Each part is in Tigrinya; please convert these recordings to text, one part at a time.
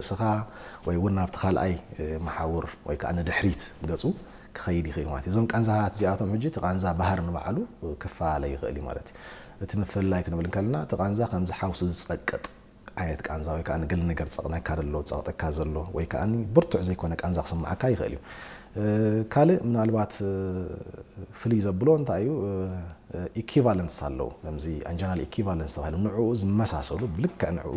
ርእስኻ ወይ እውን ናብቲ ካልኣይ መሓውር ወይ ከዓ ንድሕሪት ገፁ ክኸይድ ይኽእል ማለት እዩ። እዞም ቃንዛታት እዚኣቶም ሕጂ እቲ ቃንዛ ባህር ንባዕሉ ክፈላለ ይኽእል እዩ ማለት እዩ። እቲ ምፍልላይ ክንብል እንከለና እቲ ቃንዛ ከምዚ ሓውሲ ዝፀቅጥ ዓይነት ቃንዛ ወይ ከዓ ንገለ ነገር ዝፀቕጠካ ዘሎ ዝፀቕጠካ ዘሎ ወይ ከዓ ብርቱዕ ዘይኮነ ቃንዛ ክስምዓካ ይኽእል እዩ። ካልእ ምናልባት ፍልይ ዘብሎ እንታይ እዩ? ኢኪቫለንስ ኣለዉ። ከምዚ ኣንጀናል ኢኪቫለንስ ተባሂሎም ንዕኡ ዝመሳሰሉ ብልክዕ ንዕኡ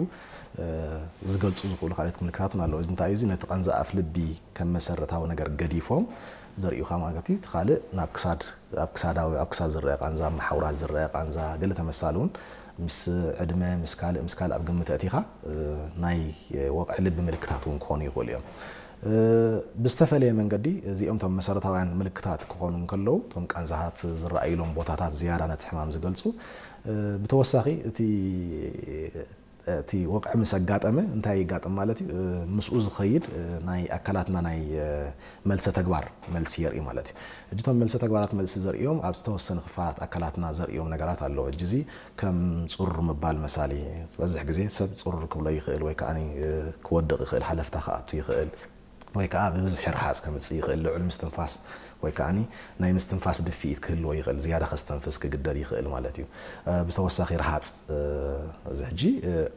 ዝገልፁ ዝኽእሉ ካልኦት ምልክታትን ኣለዉ። እንታይ እዩ እዚ? ነቲ ቃንዛ ኣፍ ልቢ ከም መሰረታዊ ነገር ገዲፎም ዘርእዩኻ ማለት እዩ። እቲ ካልእ ናብ ክሳድ ኣብ ክሳዳዊ ኣብ ክሳድ ዝረአ ቃንዛ፣ ኣብ መሓውራት ዝረአ ቃንዛ፣ ገለ ተመሳሳሊ እውን ምስ ዕድመ ምስ ካልእ ምስ ካልእ ኣብ ግምት ኣእቲኻ ናይ ወቕዒ ልቢ ምልክታት እውን ክኾኑ ይኽእሉ እዮም። ብዝተፈለየ መንገዲ እዚኦም እቶም መሰረታውያን ምልክታት ክኾኑ እንከለዉ እቶም ቃንዛታት ዝረኣዩሎም ቦታታት ዝያዳ ነቲ ሕማም ዝገልፁ። ብተወሳኺ እቲ እቲ ወቕዒ ምስ ኣጋጠመ እንታይ ይጋጥም ማለት እዩ? ምስኡ ዝኸይድ ናይ ኣካላትና ናይ መልሰ ተግባር መልሲ የርኢ ማለት እዩ። እጅቶም መልሰ ተግባራት መልሲ ዘርእዮም ኣብ ዝተወሰነ ክፋላት ኣካላትና ዘርእዮም ነገራት ኣለዎ። እጅ እዚ ከም ፁር ምባል መሳሊ ዝበዝሕ ግዜ ሰብ ፁር ክብሎ ይኽእል ወይ ከዓ ክወድቕ ይኽእል፣ ሃለፍታ ክኣቱ ይኽእል ወይ ከዓ ብብዝሒ ርሃፅ ከምፅእ ይኽእል፣ ልዑል ምስትንፋስ ወይ ከዓ ናይ ምስትንፋስ ድፍኢት ክህልዎ ይኽእል፣ ዝያዳ ከስተንፍስ ክግደድ ይኽእል ማለት እዩ። ብተወሳኺ ርሃፅ እዚ ሕጂ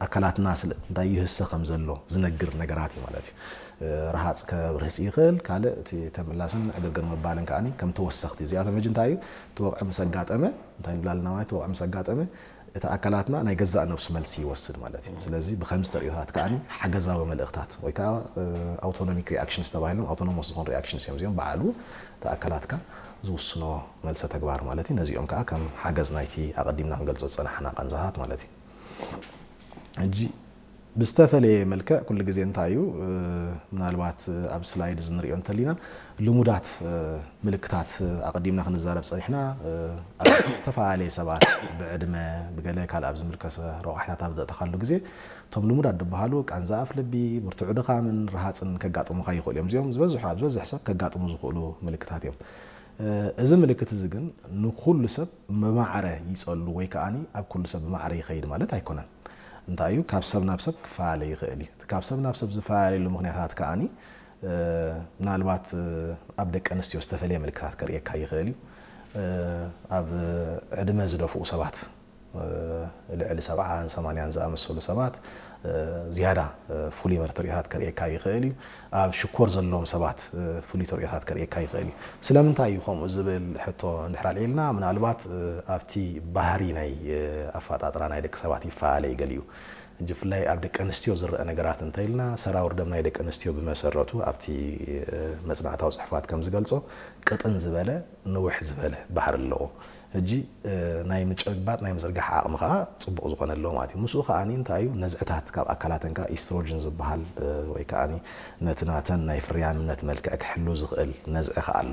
ኣካላትና ስለ እንታይ ይህሰ ከም ዘሎ ዝነግር ነገራት እዩ ማለት እዩ። ርሃፅ ከብርህፅ ይኽእል። ካልእ እቲ ተምላስን ዕግርግር ምባልን ከዓ ከም ተወሰኽቲ እዚኣቶም ሕጂ እንታይ እዩ እቲ ወቕዒ ምስ ኣጋጠመ እንታይ ንብላልና ማለት እቲ ወቕዒ ምስ ኣጋጠመ እቲ ኣካላትና ናይ ገዛእ ነብሱ መልሲ ይወስድ ማለት እዩ። ስለዚ ብከምዚ ተርእዮታት ከዓ ሓገዛዊ መልእኽታት ወይ ከዓ ኣውቶኖሚክ ሪኣክሽንስ ተባሂሎም ኣውቶኖሞስ ዝኾኑ ሪኣክሽንስ እዮም እዚኦም በዓሉ እቲ ኣካላትካ ዝውስኖ መልሰ ተግባር ማለት እዩ። ነዚኦም ከዓ ከም ሓገዝ ናይቲ ኣቐዲምና ክንገልጾ ዝጸናሕና ቃንዛታት ማለት እዩ። ሕጂ ብዝተፈለየ መልክዕ ኩሉ ግዜ እንታይ እዩ ምናልባት ኣብ ስላይድ እዚ ንሪኦ እንተሊና ልሙዳት ምልክታት ኣቐዲምና ክንዛረብ ጸኒሕና ኣብ ዝተፈላለየ ሰባት ብዕድመ ብገለ ካልእ ኣብ ዝምልከሰ ረቋሒታት ኣብ ዘእተኻሉ ግዜ እቶም ልሙዳት ዝበሃሉ ቃንዛ ኣፍ ልቢ፣ ብርቱዕ ድኻምን ርሃፅን ከጋጥሙኻ ይኽእሉ እዮም። እዚኦም ዝበዝሑ ኣብ ዝበዝሕ ሰብ ከጋጥሙ ዝኽእሉ ምልክታት እዮም። እዚ ምልክት እዚ ግን ንኩሉ ሰብ ብማዕረ ይፀሉ ወይ ከዓ ኣብ ኩሉ ሰብ ብማዕረ ይኸይድ ማለት ኣይኮነን። እንታይ እዩ ካብ ሰብ ናብ ሰብ ክፈላለ ይኽእል እዩ። እቲ ካብ ሰብ ናብ ሰብ ዝፈላለሉ ምክንያታት ከዓ ምናልባት ኣብ ደቂ ኣንስትዮ ዝተፈለየ ምልክታት ከርእየካ ይኽእል እዩ። ኣብ ዕድመ ዝደፍኡ ሰባት ልዕሊ ሰብዓን ሰማንያን ዝኣመሰሉ ሰባት ዝያዳ ፍሉይ መርትሪታት ከርእየካ ይኽእል እዩ። ኣብ ሽኮር ዘለዎም ሰባት ፍሉይ ተርእዮታት ከርእየካ ይኽእል እዩ። ስለምንታይ እዩ ከምኡ ዝብል ሕቶ እንድሕር ኣልዒልና ምናልባት ኣብቲ ባህሪ ናይ ኣፈጣጥራ ናይ ደቂ ሰባት ይፈላለ እዩ ገሊኡ። ብፍላይ ኣብ ደቂ ኣንስትዮ ዝረአ ነገራት እንተኢልና ሰራውር ደም ናይ ደቂ ኣንስትዮ ብመሰረቱ ኣብቲ መፅናዕታዊ ፅሑፋት ከም ዝገልፆ ቅጥን ዝበለ ንውሕ ዝበለ ባህሪ ኣለዎ። ሕጂ ናይ ምጭባጥ ናይ ምዝርጋሕ ዓቕሚ ከዓ ፅቡቕ ዝኾነ ኣለዎ ማለት እዩ። ምስኡ ከዓ እንታይ እዩ ነዝዕታት ካብ ኣካላተን ከዓ ኢስትሮጅን ዝበሃል ወይ ከዓ ነቲ ናተን ናይ ፍርያምነት መልክዕ ክሕሉ ዝኽእል ነዝዒ ከዓ ኣሎ።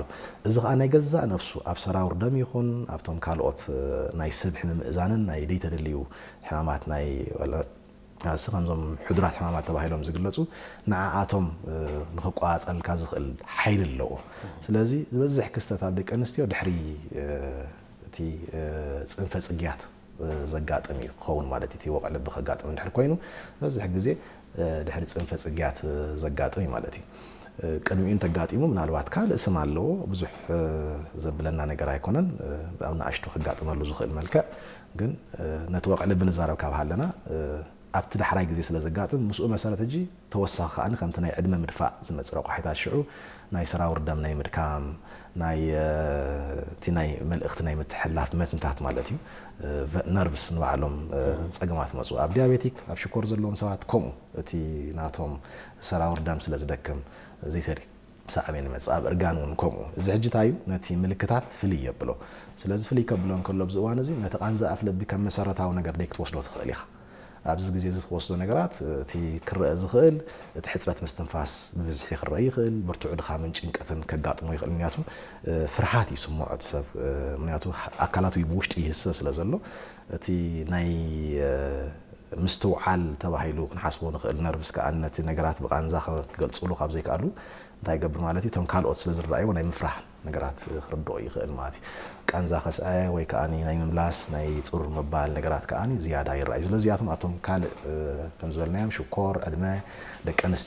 እዚ ከዓ ናይ ገዛእ ነብሱ ኣብ ሰራውር ደም ይኹን ኣብቶም ካልኦት ናይ ስብሒ ምምእዛንን ናይ ደይተደልዩ ሕማማት ናይ ንሱ ከምዞም ሕዱራት ሕማማት ተባሂሎም ዝግለፁ ንዓኣቶም ንክቋፃፀልካ ዝኽእል ሓይሊ ኣለዎ። ስለዚ ዝበዝሕ ክስተት ኣብ ደቂ ኣንስትዮ ድሕሪ እቲ ፅንፈ ፅግያት ዘጋጥም እዩ ክኸውን ማለት እቲ ወቕዒ ልቢ ከጋጥም እንድሕር ኮይኑ ዝበዝሕ ግዜ ድሕሪ ፅንፈ ፅግያት ዘጋጥም እዩ ማለት እዩ። ቅድሚኡ እንተጋጢሙ ምናልባት ካልእ ስም ኣለዎ ብዙሕ ዘብለና ነገር ኣይኮነን። ኣብ ንኣሽቱ ክጋጥመሉ ዝኽእል መልክዕ ግን ነቲ ወቕዒ ልቢ ንዛረብ ካብ ሃለና ኣብቲ ዳሕራይ ግዜ ስለ ዘጋጥም ምስኡ መሰረት ሕጂ ተወሳኺ ከዓኒ ከምቲ ናይ ዕድመ ምድፋእ ዝመፅእ ረቋሒታት ሽዑ ናይ ሰራውር ደም ናይ ምድካም ናይ እቲ ናይ መልእኽቲ ናይ ምትሕልላፍ መትንታት ማለት እዩ። ነርቭስ ንባዕሎም ፀገማት መፁ ኣብ ዲያቤቲክ ኣብ ሽኮር ዘለዎም ሰባት ከምኡ እቲ ናቶም ሰራውር ደም ስለ ዝደክም ዘይተሪ ሳዕቤን ይመፅእ ኣብ እርጋን እውን ከምኡ እዚ ሕጂ እንታይ እዩ ነቲ ምልክታት ፍልይ የብሎ። ስለዚ ፍልይ ከብሎ እንከሎ ኣብዚ እዋን እዚ ነቲ ቃንዛ ኣፍ ልቢ ከም መሰረታዊ ነገር ደይ ክትወስዶ ትኽእል ኢኻ። ኣብዚ ግዜ እዚ ትወስዶ ነገራት እቲ ክረአ ዝኽእል እቲ ሕፅረት ምስትንፋስ ብብዝሒ ክረአ ይኽእል፣ ብርቱዕ ድኻምን ጭንቀትን ከጋጥሞ ይኽእል። ምክንያቱ ፍርሃት ይስምዖ እቲ ሰብ ምክንያቱ ኣካላቱ ብውሽጢ ይህሰ ስለ ዘሎ እቲ ናይ ምስትውዓል ተባሂሉ ክንሓስቦ ንኽእል። ነርቭስ ከኣ ነቲ ነገራት ብቃንዛ ክገልጽሉ ካብ ዘይከኣሉ እንታይ ይገብር ማለት እዩ? እቶም ካልኦት ስለ ዝረኣይዎ ናይ ምፍራህ ነገራት ክርድኦ ይኽእል ማለት እዩ። ቃንዛ ከስዐ ወይ ከኣ ናይ ምምላስ ናይ ጹር ምባል ነገራት ከኣ ዝያዳ ይረኣዩ። ስለዚ እዚኣቶም ኣብቶም ካልእ ከም ዝበልናዮም ሽኮር፣ ዕድመ፣ ደቂ ኣንስትዮ